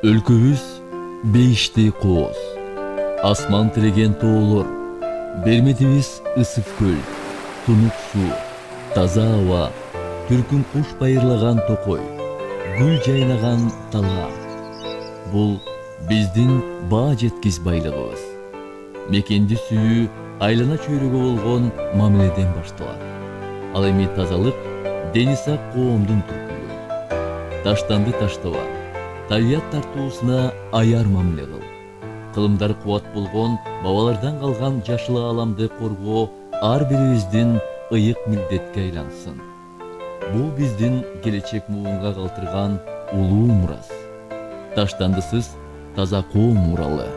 Өлкөбүз бейиштей кооз, асман тиреген тоолор, бермедибиз ысык көл, тунук суу, таза аба, түркүн куш байырлаган токой, гүл жайнаган талаа. Бул биздин баа жеткис байлыгыбыз. Мекенди сүйүү айлана чөйрөгө болгон мамиледен башталат. Ал эми тазалык дени сак коомдун түркүлүгү. Таштанды таштаба, табият тартуусуна аяр мамиле кыл. Кылымдары кубат болгон бабалардан калган жашыл ааламды коргоо ар бирибиздин ыйык милдетке айлансын. Бул биздин келечек муунга калтырган улуу мурас. Таштандысыз таза коом муралы.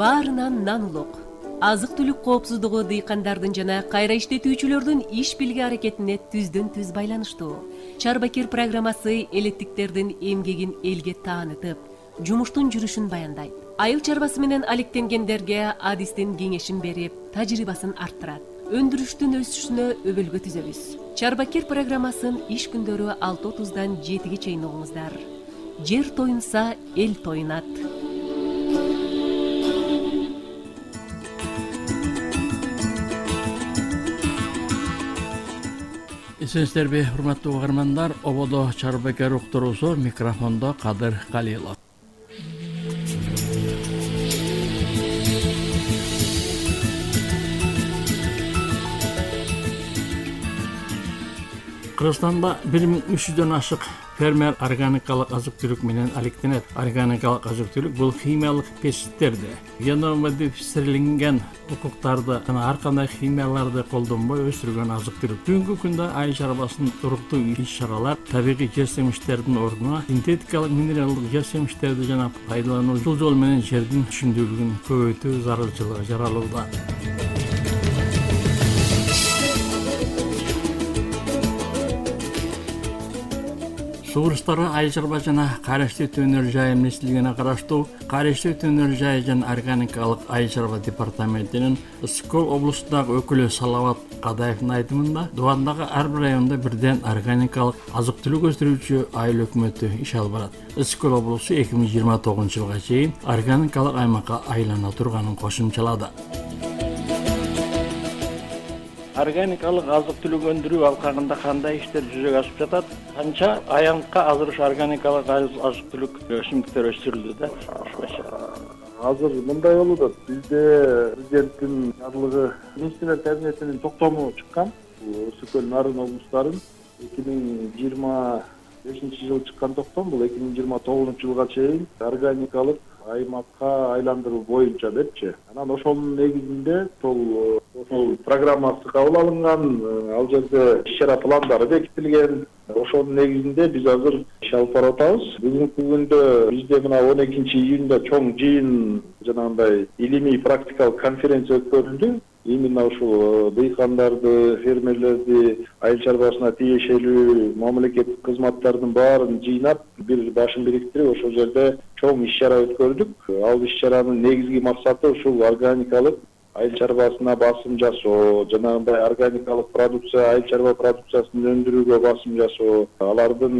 Баарынан нан улук. Азык-түлүк коопсуздугу дыйкандардын жана кайра иштетүүчүлөрдүн иш билги аракетине түздөн-түз байланыштуу. Чарбакир программасы элеттиктердин эмгегин элге таанытып, жумуштун жүрүшүн баяндайт. Айыл чарбасы менен алектенгендерге адистин кеңешин берип, тажрыйбасын арттырат. Өндүрүштүн өсүшүнө өбөлгө түзөбүз. Чарбакир программасын иш күндөрү 6:30-дан 7-ге чейин угуңуздар. Жер тоюнса, эл тоюнат. Эсенсиздерби, урматтуу угармандар, ободо Чарбакир уктуруусу, микрофондо Кадыр Калилов. Кыргызстанда 1300дөн ашык фермер органикалык азык-түлүк менен алектенет. Органикалык азык-түлүк бул химиялык пестицидтерди, геномодифицирленген укуктарды жана ар кандай химияларды колдонбой өсүрүлгөн азык-түлүк. Бүгүнкү күндө айыл чарбасынын туруктуу иш-чаралар табигый жер-семиштердин ордуна синтетикалык минералдык жер-семиштерди жана пайдалануу жол менен жердин түшүндүүлүгүн көбөйтүү зарылчылыгы жаралууда. Сугуруштары айыл чарба жана карышты өтөнөр жайы министрлигине караштуу карышты өтөнөр жайы жана органикалык айыл чарба департаментинин Ысык-Көл облусундагы өкүлү Салават Кадаевдин айтымында, Дубандагы ар бир райондо бирден органикалык азык-түлүк өстүрүүчү айыл өкмөтү иш алып барат. Ысык-Көл облусу 2029-жылга чейин органикалык аймакка айлана турганын кошумчалады. Органикалык азык-түлүк өндүрүү алкагында кандай иштер жүзөгө асып жатат? Канча аянтка азыр ушу органикалык азык-түлүк өсүмдүктөр өстүрүлдү да? Азыр мындай болуп атат. Бизде президенттин жарлыгы министрлер кабинетинин токтому чыккан. Ысык-Көл нарын облустарын 2025-жылы чыккан токтом, бул 2029-жылга чейин органикалык аймакка айландыруу боюнча депчи. Анан ошонун негизинде ошол программасы кабыл алынган, ал жерде иш-чара пландары бекитилген. Ошонун негизинде биз азыр иш алып барып атабыз. Бүгүнкү күндө бизде мына 12-июнда чоң жыйын, жанагындай илимий практикалык конференция өткөрүлдү. Именно ушул дыйкандарды, фермерлерди, айыл чарбасына тиешелүү мамлекеттик кызматтардын баарын жыйнап, бир башын бириктирип, ошол жерде чоң иш-чара өткөрдүк. Ал иш-чаранын негизги максаты ушул органикалык айыл чарбасына басым жасоо, жанагындай органикалык продукция, айыл чарба продукциясын өндүрүүгө басым жасоо, алардын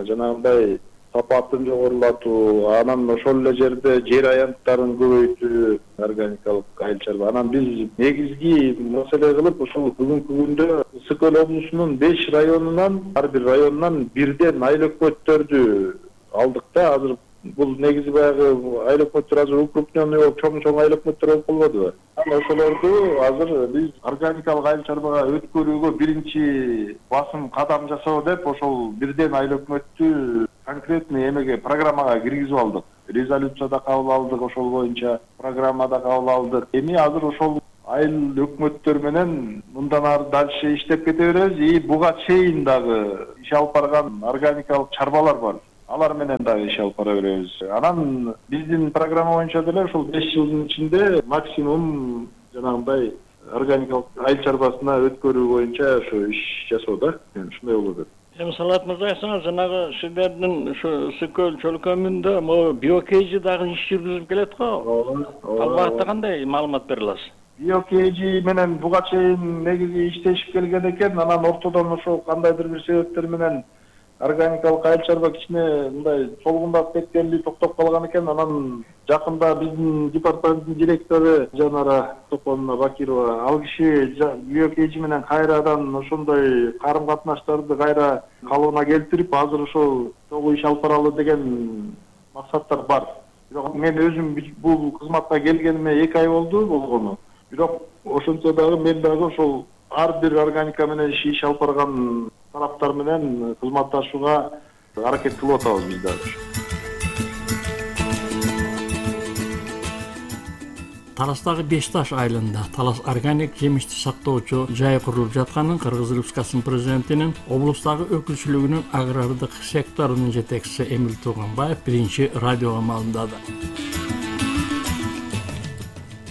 жанагындай сапатын жогорулатуу, анан ошол эле жерде жер аянттарын көбөйтүү, органикалык айыл чарба. Анан биз негизги маселе кылып ушул бүгүнкү күндө Ысык-Көл облусунун 5 районунан, ар бир районунан бирден айыл өкмөттөрдү алдык да. Азыр бул негизи баягы айыл өкмөттөр азыр укрупненный болуп, чоң айыл өкмөттөр болуп калбадыбы? Анан ошолорду азыр биз органикалык айыл чарбага өткөрүүгө биринчи басым кадам жасоо деп, ошол бирден айыл өкмөттү конкретный эмеге, программага киргизип алдык. Резолюцияда кабыл алдык, ошол боюнча программада кабыл алдык. Эми азыр ошол айыл өкмөттөр менен мындан ары дальше иштеп кете беребиз. И буга чейин дагы иш алып барган органикалык чарбалар бар. Алар менен дагы иш алып бара беребиз. Анан биздин программа боюнча деле ушул 5 жылдын ичинде максимум жанагындай органикалык айыл чарбасына өткөрүү боюнча ошо иш жасоо да. Ушундай болот деп. Салат мырза, айтсаңыз, жанагы сиздердин ушу Ысык-Көл чөлкөмүндө биокейжи дагы иш жүргүзүп келет го. Ал багытта кандай маалымат бере аласыз? биокейжи менен буга чейин негизи иштешип келген экен. Анан ортодон ошо кандайдыр бир себептер менен органикалык айыл чарба кичине мындай солгундап кеткенли токтоп калган экен. Анан жакында биздин департаменттин директору Жанара Токонова Бакирова ал киши биокейжи менен кайрадан ошондой карым катнаштарды кайра калыбына келтирип, азыр ошол чогуу иш алып баралы деген максаттар бар. Бирок мен өзүм бул кызматка келгениме 2 ай болду болгону. Бирок ошончо дагы мен дагы ошол ар бир органика менен иш алып барган тараптар менен кызматташууга аракет кылып атабыз биз дагы. Таластагы Бешташ айылында Талас органик жемишти сактоочу жай курулуп жатканын Кыргыз Республикасынын президентинин облустагы өкүлчүлүгүнүн агрардык секторунун жетекчиси Эмил Туганбаев биринчи радиого маалымдады.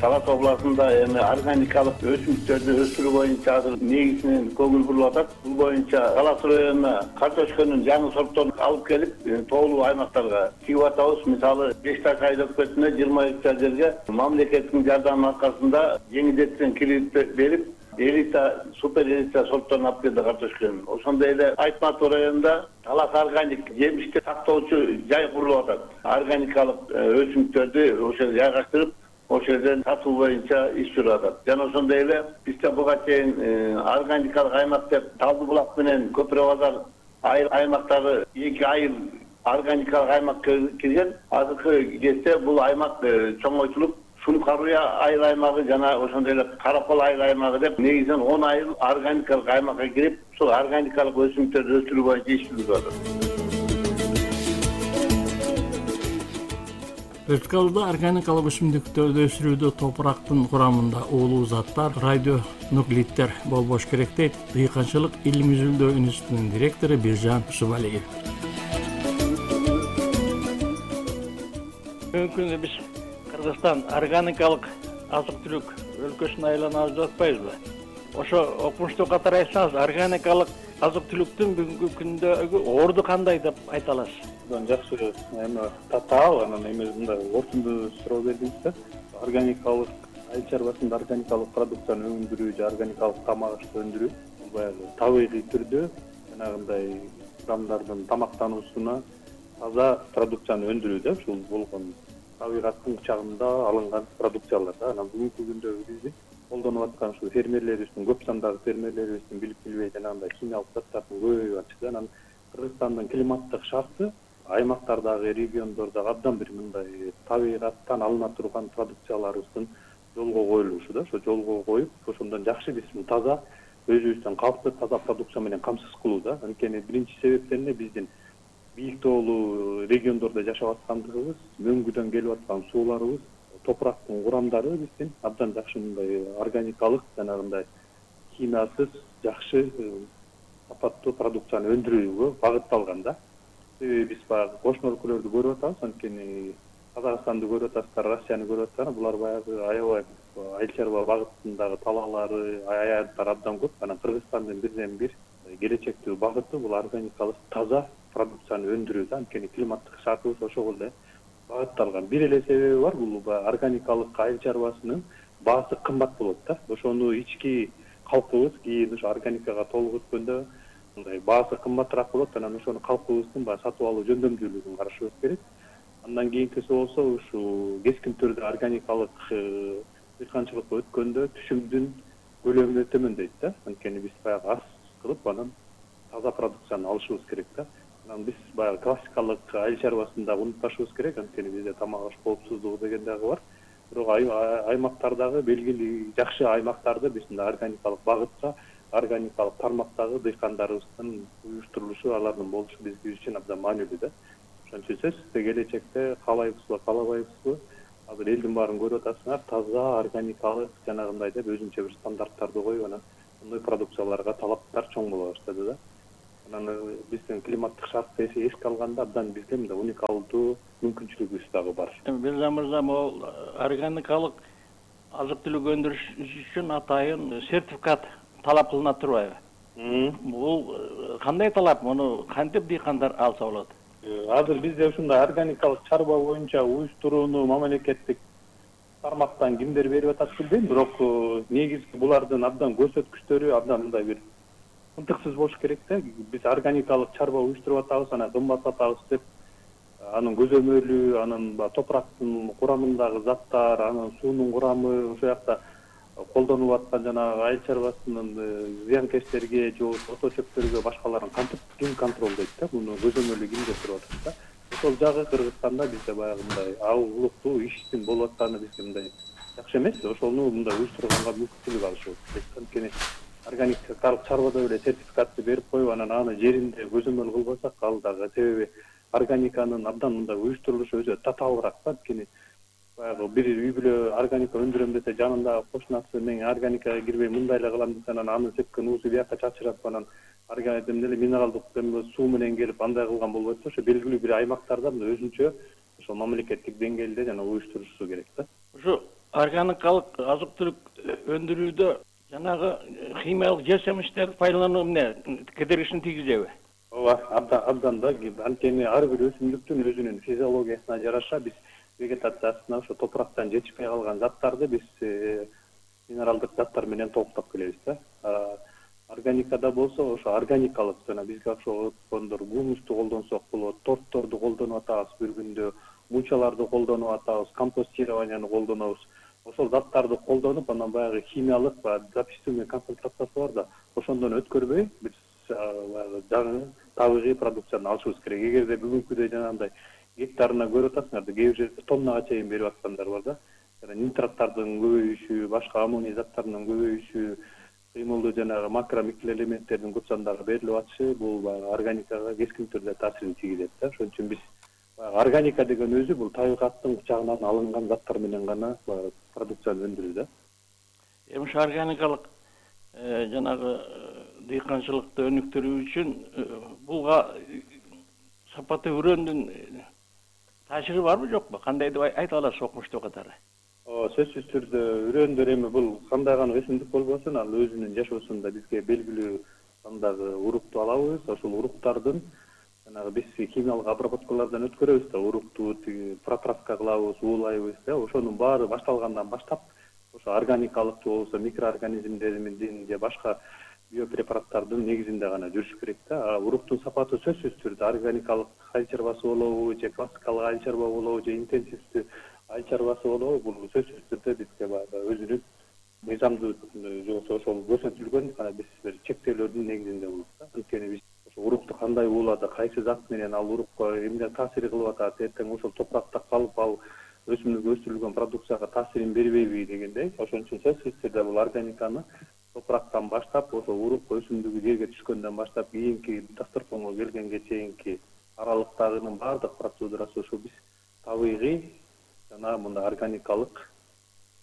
Талас областында эми органикалык өсүмдүктөрдү өстүрүү боюнча азыр негизинен көңүл бурулуп атат. Бул боюнча Талас районуна картошканын жаңы сортторун алып келип, тоолуу аймактарга чыгып атабыз. Мисалы, Бешташ айыл өкмөтүнө 20 гектар жерге мамлекеттин жардамы аркасында жеңилдетилген кредит берип, элита, супер элита сортторун алып келди картошканын. Ошондой эле Айтматов районунда Талас органик жемишти сактоочу жай курулуп атат. Органикалык өсүмдүктөрдү ошол жайгаштырып, ошол жерден сатуу боюнча иш жүрүп атат. Жана ошондой эле бизде буга чейин органикалык аймак деп Талды булак менен Көпүрө базар аймактары 2 айыл органикалык аймакка кирген. Азыркы кезде бул аймак чоңойтулуп, Сункаруя айыл аймагы жана ошондой эле Каракол айыл аймагы деп негизинен 10 айыл органикалык аймакка кирип, ошол органикалык өсүмдүктөрдү өстүрүү боюнча иш жүрүп атат. Республикаларда органикалык өсүмдүктөрдү өсүрүүдө топурактын курамында уулуу заттар, радионуклиддер болбош керек дейт Дыйканчылык илим изилдөө институтунун директору Биржан Субалиев. Бүгүнкү күндө биз Кыргызстан органикалык азык-түлүк өлкөсүнө айланабыз деп атпайбызбы? Ошо окумуштуу катары айтсаңыз, органикалык азык-түлүктүн бүгүнкү күндөгү орду кандай деп айта аласыз? Жакшы эми татаал анан эми мындай ортундуу суроо бердиңиз да. Органикалык айыл чарбасында органикалык продукцияны өндүрүү же органикалык тамак ашты өндүрүү баягы табигый түрдө жанагындай адамдардын тамактануусуна таза продукцияны өндүрүү да, ушул болгон табигаттын кучагында алынган продукциялар да. Анан бүгүнкү күндө биздин колдонуп аткан ушул фермерлерибиздин көп сандагы фермерлерибиздин билип билбей жанагындай химиялык заттардын көбөйүп атышы да. Анан Кыргызстандын климаттык шарты аймактардагы, региондордогу абдан бир мындай табигаттан алына турган продукцияларыбыздын жолго коюлушу да. Ошо жолго коюп, ошондон жакшы биз таза өзүбүздүн калкты таза продукция менен камсыз кылуу да. Анткени биринчи себептен эле биздин бийик тоолуу региондордо жашап аткандыгыбыз, мөңгүдөн келип аткан сууларыбыз, топурактын курамдары биздин абдан жакшы мындай органикалык жанагындай химиясыз жакшы сапаттуу продукцияны өндүрүүгө багытталган да. Биз баягы кошмо өлкөлөрдү көрүп атабыз, анткени Казакстанды көрүп атасыздар, Россияны көрүп атасыздар. Булар баягы аябай айыл чарба багытындагы талаалары, аянттар абдан көп. Анан Кыргызстандын бирден бир келечектүү багыты бул органикалык таза продукцияны өндүрүү да. Анткени климаттык шартыбыз ошого эле багытталган. Бир эле себеби бар, бул органикалык айыл чарбасынын баасы кымбат болот да. Ошону ички калкыбыз кийин ошо органикага толук өткөндө мындай баасы кымбатыраак болот. Анан ошону калкыбыздын баягы сатып алуу жөндөмдүүлүгүн карашыбыз керек. Андан кийинкиси болсо ушул кескин түрдө органикалык дыйканчылыкка өткөндө түшүмдүн көлөмү төмөндөйт да. Анткени биз баягы аз кылып анан таза продукцияны алышыбыз керек да. Анан биз баягы классикалык айыл чарбасында унутпашыбыз керек. Анткени бизде тамак аш коопсуздугу деген дагы бар. Бирок аймактардагы белгилүү жакшы аймактарды биз мындай органикалык багытка, органикалык тармактагы дыйкандарыбыздын уюштурулушу, алардын болушу биз үчүн абдан маанилүү да. Ошон үчүн сиз келечекте каалайбызбы, каалабайбызбы, азыр элдин баарын көрүп атасыңар, таза органикалык жанагындай деп өзүнчө бир стандарттарды коюп анан мындай продукцияларга талаптар чоң боло баштады да. Анан биздин климаттык шартты эске алганда абдан бизде мындай уникалдуу мүмкүнчүлүгүбүз дагы бар. Биржан мырза, могул органикалык азык-түлүк өндүрүш үчүн атайын сертификат талап кылына турбайбы? Бул кандай талап? Муну кантип дыйкандар алса болот? Азыр бизде ушундай органикалык чарба боюнча уюштурууну мамлекеттик тармактан кимдер берип атат билбейм, бирок негизги булардын абдан көрсөткүчтөрү абдан мындай бир ынтыксыз болуш керек да. Биз органикалык чарба уюштуруп атабыз, анан кымбат сатабыз деп анын көзөмөлү, анын топурактын курамындагы заттар, анын суунун курамы, ошол жакта колдонуп аткан жанагы айыл чарбасынын зыянкечтерге же ото чөптөргө башкаларын ким контролдойт да, муну көзөмөлү кимде туруп атат да. Ошол жагы Кыргызстанда бизде баягы мындай улуттуу иштин болуп атканы бизге мындай жакшы эмес. Ошону мындай уюштурганга мүмкүнчүлүк алышыбыз керек. Анткени органикалык чарбада эле сертификатты берип коюп, анан аны жеринде көзөмөл кылбасак, ал дагы себеби органиканын абдан мындай уюштурулушу өзү татаалыраак да. Анткени баягы бир үй бүлө органика өндүрөм десе, жанындагы кошунасы мен органикага кирбей мындай эле кылам десе, анан аны сепкен уусу бияка чачырап, анан эле минералдык суу менен келип андай кылган болбойт да. Ошо белгилүү бир аймактарда мындай өзүнчө ошо мамлекеттик деңгээлде жана уюштурушу керек да. Ушу органикалык азык-түлүк өндүрүүдө жанагы химиялык жер семичтерди пайдалануу эмне кедергисин тийгизеби? Ооба, абдан да. Анткени ар бир өсүмдүктүн өзүнүн физиологиясына жараша биз вегетациясына ошо топурактан жетишпей калган заттарды биз минералдык заттар менен толуктап келебиз да. Органикада болсо ошо органикалык жана бизге окшогондор гумусту колдонсок болот, тортторду колдонуп атабыз бир күндө, мучаларды колдонуп атабыз, компостированияны колдонобуз. Ошол заттарды колдонуп, анан баягы химиялык записываемый концентрациясы бар да, ошондон өткөрбөй биз жаңы табигый продукцияны алышыбыз керек. Эгерде бүгүнкүдөй жанагындай гектарына көрүп атасыңар да, кээ бир жерде тоннага чейин берип аткандар бар да. Нитраттардын көбөйүшү, башка аммоний заттарынын көбөйүшү, кыймылдуу жанагы макро микроэлементтердин көп сандагы берилип атышы бул органикага кескин түрдө таасирин тийгизет да. Ошон үчүн биз органика деген өзү бул табигаттын кучагынан алынган заттар менен гана продукцияны өндүрүү да. Эми ушу органикалык жанагы дыйканчылыкты өнүктүрүү үчүн булга сапаты үрөндүн таасири барбы жокпу? Кандай деп айта аласыз окумуштуу катары? Сөзсүз түрдө үрөндөр эми бул кандай гана өсүмдүк болбосун, ал өзүнүн жашоосунда бизге белгилүү сандагы урукту алабыз. Ошол уруктардын жанагы биз химиялык обработкалардан өткөрөбүз да, урукту протравка кылабыз, уулайбыз да. Ошонун баары башталгандан баштап ошо органикалык же болбосо микроорганизмдердин же башка биопрепараттардын негизинде гана жүрүш керек да. Уруктун сапаты сөзсүз түрдө органикалык айыл чарбасы болобу, же классикалык айыл чарба болобу, же интенсивдүү айыл чарбасы болобу, бул сөзсүз түрдө бизге баягы өзүнүн мыйзамдуу же болбосо ошол көрсөтүлгөн биз бир чектөөлөрдүн негизинде болот да. Анткени биз ошо урукту кандай уулады, кайсы зат менен ал урукка эмне таасир кылып атат, эртең ошол топуракта калып ал өсүмдүк өстүрүлгөн продукцияга таасирин бербейби дегендей. Ошон үчүн сөзсүз түрдө бул органиканы топурактан баштап, ошо урук өсүмдүгү жерге түшкөндөн баштап кийинки дасторконго келгенге чейинки аралыктагынын баардык процедурасы ошо биз табигый жана мындай органикалык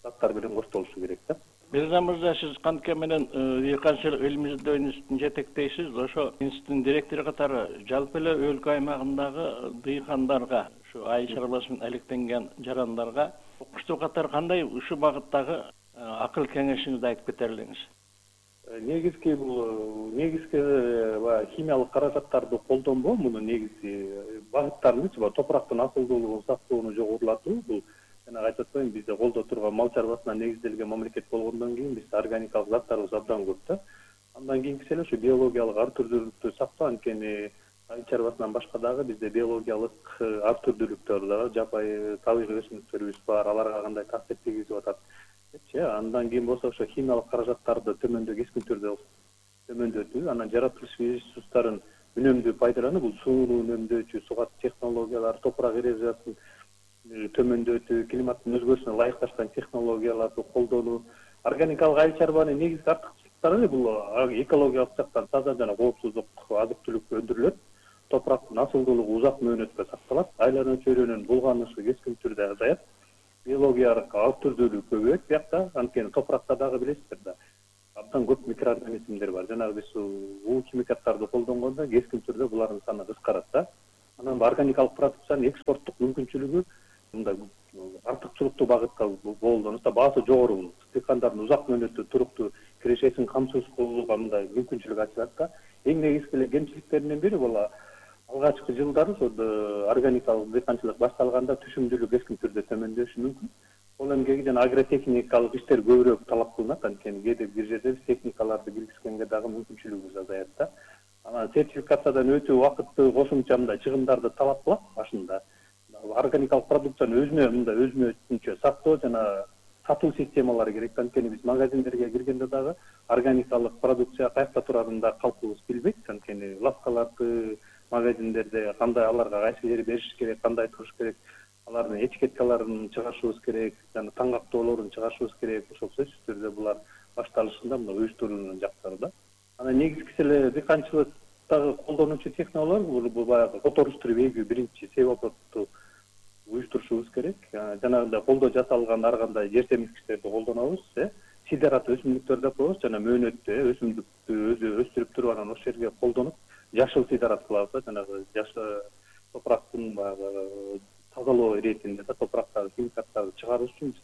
заттар менен коштолушу керек да. Мирза мырза, сиз кантке менен дыйканчылык илимий изилдөө институтун жетектейсиз. Ошо институттун директору катары жалпы эле өлкө аймагындагы дыйкандарга, ушу айыл чарбасы менен алектенген жарандарга окуштуу катары кандай ушул багыттагы акыл кеңешиңизди айтып кетерлиңиз? Негизги баягы химиялык каражаттарды колдонбоо, мунун негизги багыттарынычы топурактын асылдуулугун сактоону жогорулатуу. Бул жана айтып атпаймынбы, бизде колдо турган мал чарбасына негизделген мамлекет болгондон кийин бизде органикалык заттарыбыз абдан көп да. Андан кийинкиси эле ушу биологиялык ар түрдүүлүктү сактоо. Анткени айыл чарбасынан башка дагы бизде биологиялык ар түрдүүлүктөр дагы жапайы табигый өсүмдүктөрүбүз бар. Аларга кандай таасир тийгизип атат депчи. Андан кийин болсо ошо химиялык каражаттарды кескин түрдө төмөндөтүү, анан жаратылыш ресурстарын үнөмдүү пайдалануу, бул сууну үнөмдөөчү сугат технологиялар, топурак эрозиясын төмөндөтүү, климаттын өзгөрүшүнө ылайыкташкан технологияларды колдонуу. Органикалык айыл чарбанын негизги артыкчылыктары бул экологиялык жактан таза жана коопсуздук азык-түлүк өндүрүлөт. Топурактын асылдуулугу узак мөөнөткө сакталат, айлануу чөйрөнүн булганышы кескин түрдө азаят, биологиялык ар түрдүүлүк көбөйөт биякта. Анткени топуракта дагы билесиздер да, абдан көп микроорганизмдер бар. Жанагы биз уу химикаттарды колдонгондо кескин түрдө булардын саны кыскарат да. Анан органикалык продукциянын экспорттук мүмкүнчүлүгү мындай артыкчылыктуу багытка колдонулса баасы жогору болот. Дыйкандардын узак мөөнөттүү туруктуу кирешесин камсыз кылууга мындай мүмкүнчүлүк ачылат да. Эң негизги эле кемчиликтеринин бири бул алгачкы жылдары органикалык дыйканчылык башталганда түшүмдүүлүк кескин түрдө төмөндөшү мүмкүн. Ол эмгеги жана агротехникалык иштер көбүрөөк талап кылынат, анткени кээде бир жерде биз техникаларды киргизгенге дагы мүмкүнчүлүгүбүз азаят да. Анан сертификациядан өтүү убакытты кошумча мындай чыгымдарды талап кылат башында. Органикалык продукцияны өзүнчө сактоо жана сатуу системалары керек. Анткени биз магазиндерге киргенде дагы органикалык продукция каякта турарын да калкыбыз билбейт. Анткени лавкаларды, магазиндерде кандай аларга кайсы жери бериш керек, кандай туруш керек, алардын этикеткаларын чыгарышыбыз керек, жана таңгактоолорун чыгарышыбыз керек. Ошол сөзсүз түрдө булар башталышында мына уюштуруунун жактары да. Анан негизгиси эле дыйканчылыктагы колдонуучу технологиялар бул баягы которуштуруп эгүү биринчи себопту уюштурушубуз керек. Жанагындай колдо жасалган ар кандай жер семирткичтерди колдонобуз, сидерат өсүмдүктөр деп коебуз, жана мөөнөттү өсүмдүктү өзү өстүрүп туруп анан ошол жерге колдонуп жашыл сидерат кылабыз, жанагы топурактын баягы тазалоо иретинде да, топурактагы химикаттарды чыгарыш үчүн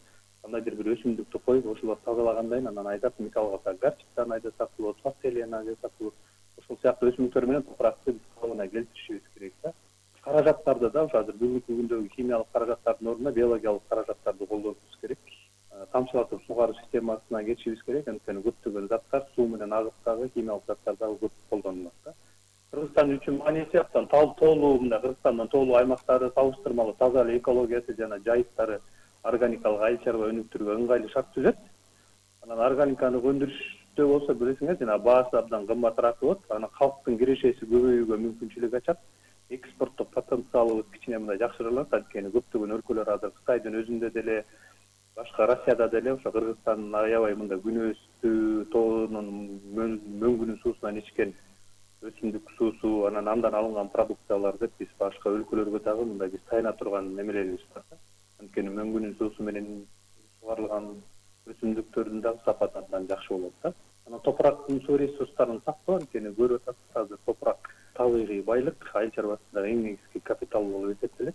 кандайдыр бир өсүмдүктү коюп, ошолор тазалагандан кийин анан айдап, мисалга горчицаны айдасак болот, фасолияны айдасак болот. Ошол сыяктуу өсүмдүктөр менен топуракты калыбына келтиришибиз керек да. Каражаттарды да ошо азыр бүгүнкү күндөгү химиялык каражаттардын ордуна биологиялык каражаттарды колдонушубуз керек. Тамчылатып сугаруу системасына кетишибиз керек, анткени көптөгөн заттар суу менен агып химиялык заттар дагы көп колдонулат да. Кыргызстан үчүн мааниси абдан тоолуу, мындай Кыргызстандын тоолуу аймактары салыштырмалуу таза эле экологиясы жана жайыттары органикалык айыл чарба өнүктүрүүгө ыңгайлуу шарт түзөт. Анан органиканы өндүрүштө болсо билесиңер, жана баасы абдан кымбатыраак болот. Анан калктын кирешеси көбөйүүгө мүмкүнчүлүк ачат. Экспорттук потенциалыбыз кичине мындай жакшырылат, анткени көптөгөн өлкөлөр азыр Кытайдын өзүндө деле, башка Россияда деле ошо Кыргызстандын аябай мындай күнөөстүү тоонун мөңгүнүн суусунан ичкен өсүмдүк суусу, анан андан алынган продукциялар деп биз башка өлкөлөргө дагы мындай биз таяна турган немелерибиз бар. Анткени мөңгүнүн суусу менен сугарылган өсүмдүктөрдүн дагы сапаты абдан жакшы болот да. Анан топурактын суу ресурстарын сактоо, анткени көрүп атасыз азыр топурак табигый байлык, айыл чарбасындагы эң негизги капитал болуп эсептелет.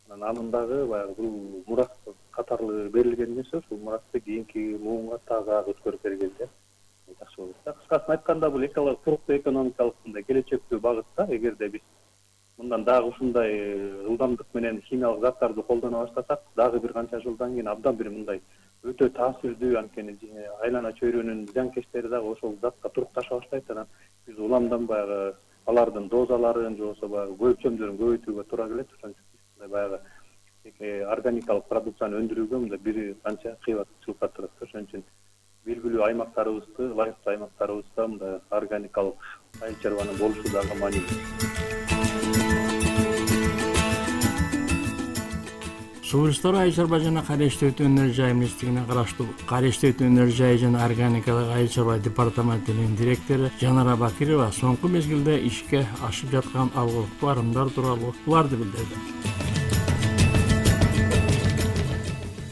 Анын дагы баягы бул мурас катары берилген нерсе, ушул мурасты кийинки муунга таза өткөрүп бергенде жакшы болот да. Кыскасын айтканда бул туруктуу экономикалык мындай келечектүү багытта, эгерде биз мындан дагы ушундай ылдамдык менен химиялык заттарды колдоно баштасак, дагы бир канча жылдан кийин абдан бир мындай өтө таасирдүү, анткени айлана чөйрөнүн зыянкечтери дагы ошол затка турукташа баштайт. Анан биз уламдан баягы алардын дозаларын же болбосо баягы өлчөмдөрүн көбөйтүүгө туура келет. Ошон үчүн баягы органикалык продукцияны өндүрүүгө мындай бир канча кыйбатчылыкка турат. Ошон үчүн белгилүү аймактарыбызды, лайыктуу аймактарыбызда мындай органикалык айыл чарбанын болушу дагы маанилүү. Субюлстар айыл чарба жана кайра иштетүү өнөр жай министрлигине караштуу кайра иштетүү өнөр жай жана органикалык айыл чарба департаментинин директору Жанара Бакирова соңку мезгилде ишке ашып жаткан алгылыктуу арымдар тууралуу буларды билдирди.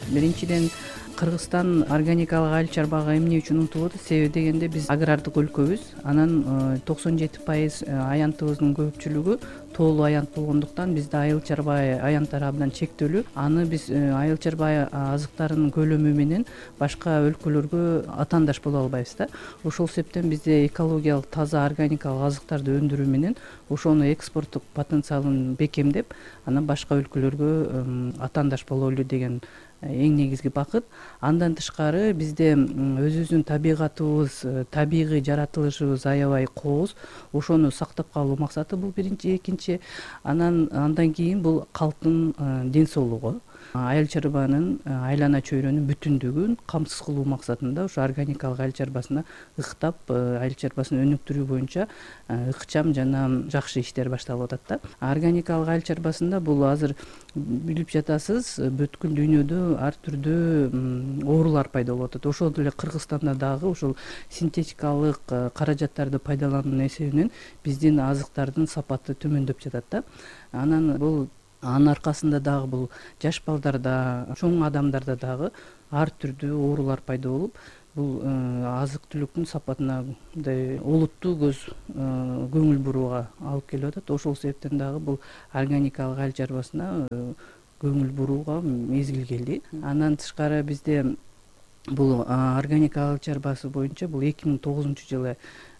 Биринчиден Кыргызстан органикалык айыл чарбага эмне үчүн умтулат? Себеби дегенде биз агрардык өлкөбүз. Анан 97% аянтыбыздын көпчүлүгү тоолуу аянт болгондуктан бизде айыл чарба аянттары абдан чектелүү. Аны биз айыл чарба азыктарынын көлөмү менен башка өлкөлөргө атаандаш боло албайбыз да. Ошол себептен бизде экологиялык таза органикалык азыктарды өндүрүү менен ошону экспорттук потенциалын бекемдеп, анан башка өлкөлөргө атаандаш бололу деген эң негизги бакыт. Андан тышкары бизде өзүбүздүн табигатыбыз, табигый жаратылышыбыз аябай кооз. Ошону сактап калуу максаты бул биринчи. Экинчи, андан кийин бул калктын ден соолугу, айыл чарбанын айлана чөйрөнүн бүтүндүгүн камсыз кылуу максатында ошо органикалык айыл чарбасына ыктап, айыл чарбасын өнүктүрүү боюнча ыкчам жана жакшы иштер башталып атат да. Органикалык айыл чарбасында бул азыр билип жатасыз, бүткүл дүйнөдө ар түрдүү оорулар пайда болуп атат. Ошол эле Кыргызстанда дагы ушул синтетикалык каражаттарды пайдалануунун эсебинен биздин азыктардын сапаты төмөндөп жатат да. Анын аркасында дагы бул жаш балдарда, чоң адамдарда дагы ар түрдүү оорулар пайда болуп, бул азык түлүктүн сапатына мындай олуттуу көңүл бурууга алып келип атат. Ошол себептен дагы бул органикалык айыл чарбасына көңүл бурууга мезгил келди. Андан тышкары бизде бул органикалык айыл чарбасы боюнча бул 2009-жылы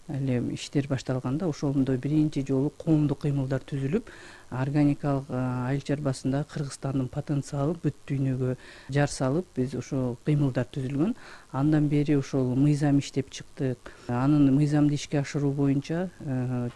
эле иштер башталганда ошондо биринчи жолу коомдук кыймылдар түзүлүп, органикалык айыл чарбасында Кыргызстандын потенциалы бүт дүйнөгө жар салып биз ошо кыймылдар түзүлгөн. Андан бери ошол мыйзам иштеп чыктык. Анын мыйзамды ишке ашыруу боюнча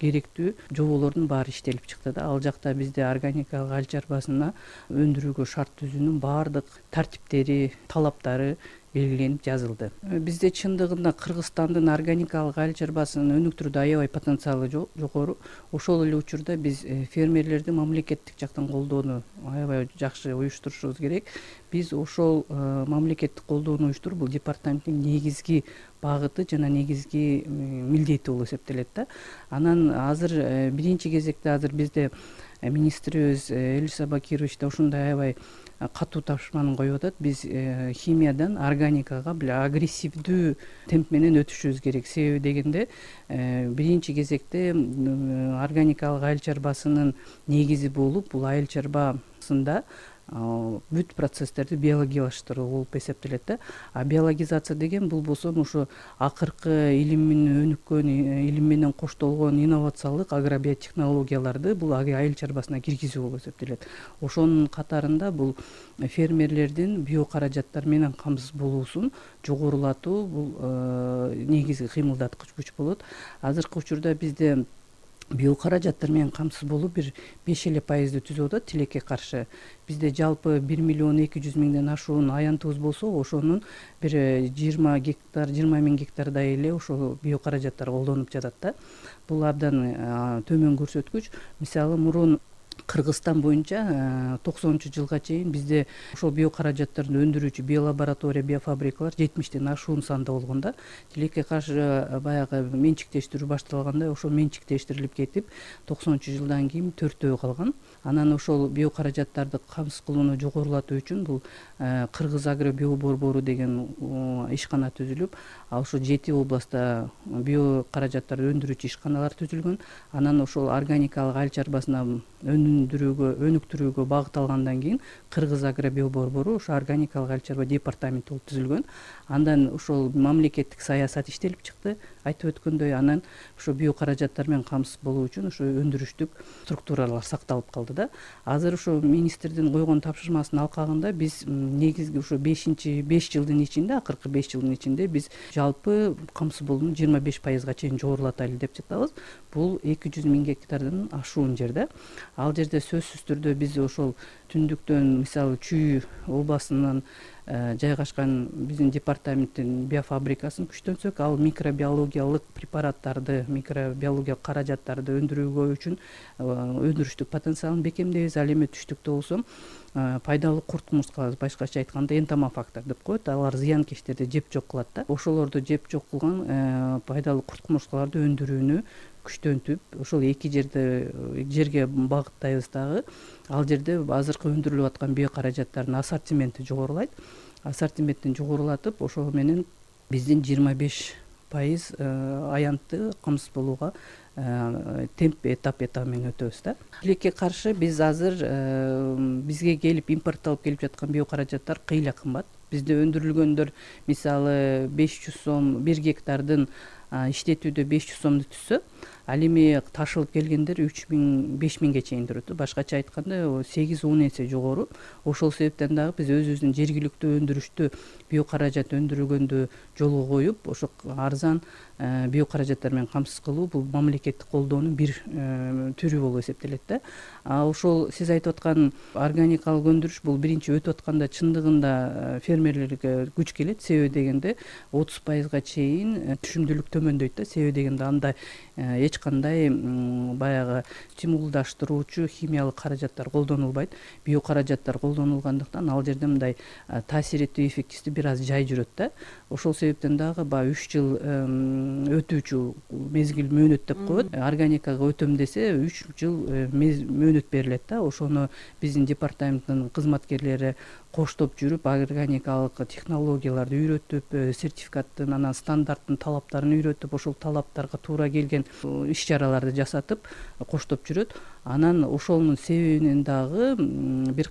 керектүү жоболордун баары иштелип чыкты да. Ал жакта бизде органикалык айыл чарбасына өндүрүүгө шарт түзүүнүн баардык тартиптери, талаптары белгиленип жазылды. Бизде чындыгында Кыргызстандын органикалык айыл чарбасын өнүктүрүүдө аябай потенциалы жогору. Ошол эле учурда биз фермерлерди мамлекеттик жактан колдоону аябай жакшы уюштурушубуз керек. Биз ошол мамлекеттик колдоону уюштуруп, бул департаменттин негизги багыты жана негизги милдети болуп эсептелет да. Анан азыр биринчи кезекте азыр бизде министрибиз Элис Абакирович да ушундай аябай катуу тапшырманы коюп атат. Биз химиядан органикага агрессивдүү темп менен өтүшүбүз керек. Себеби дегенде биринчи кезекте органикалык айыл чарбасынын негизи болуп, бул айыл чарбасында бүт процесстерди биологиялаштыруу болуп эсептелет да. А биологизация деген бул болсо ошо акыркы илимин өнүккөн, илим менен коштолгон инновациялык агробиотехнологияларды бул айыл чарбасына киргизүү болуп эсептелет. Ошонун катарында бул фермерлердин биокаражаттар менен камсыз болуусун жогорулатуу бул негизги кыймылдаткыч күч болот. Азыркы учурда бизде биокаражаттар менен камсыз болуу бир 5% түзүп атат тилекке каршы. Бизде жалпы 1.200.000 ашуун аянтыбыз болсо, ошонун бир 20 миң гектардай эле ошол биокаражаттар колдонуп жатат да. Бул абдан төмөн көрсөткүч. Мисалы мурун Кыргызстан боюнча 90-жылга чейин бизде ошол биокаражаттарды өндүрүүчү биолаборатория, биофабрикалар 70тен ашуун санда болгон да. Тилекке каршы баягы менчиктештирүү башталганда ошол менчиктештирилип кетип, 90-жылдан кийин 4 калган. Анан ошол биокаражаттарды камсыз кылууну жогорулатуу үчүн бул Кыргыз агро биоборбору деген ишкана түзүлүп, ошо 7 областта биокаражаттарды өндүрүүчү ишканалар түзүлгөн. Анан ошол органикалык айыл чарбасына өнүктүрүүгө багыт алгандан кийин Кыргыз агро биоборбору ошо органикалык айыл чарба департаменти болуп түзүлгөн. Андан ошол мамлекеттик саясат иштелип чыкты, айтып өткөндөй. Анан ошо биокаражаттар менен камсыз болуу үчүн ошо өндүрүштүк структуралар сакталып калды да. Азыр ошо министрдин койгон тапшырмасынын алкагында биз негизги ошо 5 жылдын ичинде, акыркы 5 жылдын ичинде биз жалпы камсыз болууну 25%га чейин жогорулатайлы деп жатабыз. Бул 200.000 гектардан ашуун жер да. Ал жерде сөзсүз түрдө биз ошол түндүктөн, мисалы Чүй областынан жайгашкан биздин департаменттин биофабрикасын күчтөнсөк, ал микробиологиялык препараттарды, микробиологиялык каражаттарды өндүрүүгө үчүн өндүрүштүк потенциалын бекемдейбиз. Ал эми түштүктө болсо пайдалуу курт кумурскалар, башкача айтканда энтомофактор деп коет. Алар зыянкечтерди жеп жок кылат да. Ошолорду жеп жок кылган пайдалуу курт кумурскаларды өндүрүүнү күчтөнтүп, ошол эки жерге багыттайбыз дагы. Ал жерде азыркы өндүрүлүп аткан биокаражаттардын ассортименти жогорулайт. Ассортиментин жогорулатып, ошол менен биздин 25% аянтты камсыз болууга темп этап менен өтөбүз да. Тилекке каршы биз азыр бизге келип импортталып келип жаткан биокаражаттар кыйла кымбат. Бизде өндүрүлгөндөр мисалы 500 сом 1 гектардын иштетүүдө 500 сомду түзсө, ал эми ташылып келгендер 3000-5000ге чейин турат. Башкача айтканда 8-10 эсе жогору. Ошол себептен дагы биз өзүбүздүн жергиликтүү өндүрүштү биокаражат өндүргөндү жолго коюп, ошо арзан биокаражаттар менен камсыз кылуу бул мамлекеттик колдоонун бир түрү болуп эсептелет да. Ошол сиз айтып аткан органикалык өндүрүш бул биринчи өтүп атканда чындыгында фермерлерге күч келет. Себеби дегенде 30%га чейин түшүмдүүлүк төмөндөйт да. Себеби дегенде анда эч кандай баягы стимулдаштыруучу химиялык каражаттар колдонулбайт. Биокаражаттар колдонулгандыктан ал жерде мындай таасир этүү эффективдүү бир аз жай жүрөт да. Ошол себептен дагы 3 жыл өтүүчү мезгил мөөнөт деп коет. Органикага өтөм десе 3 жыл мөөнөт берилет да. Ошону биздин департаменттин кызматкерлери коштоп жүрүп, органикалык технологияларды үйрөтүп, сертификаттын, анан стандарттын талаптарын үйрөтүп, ошол талаптарга туура келген иш-чараларды жасатып коштоп жүрөт. Анан ошонун себебинен дагы бир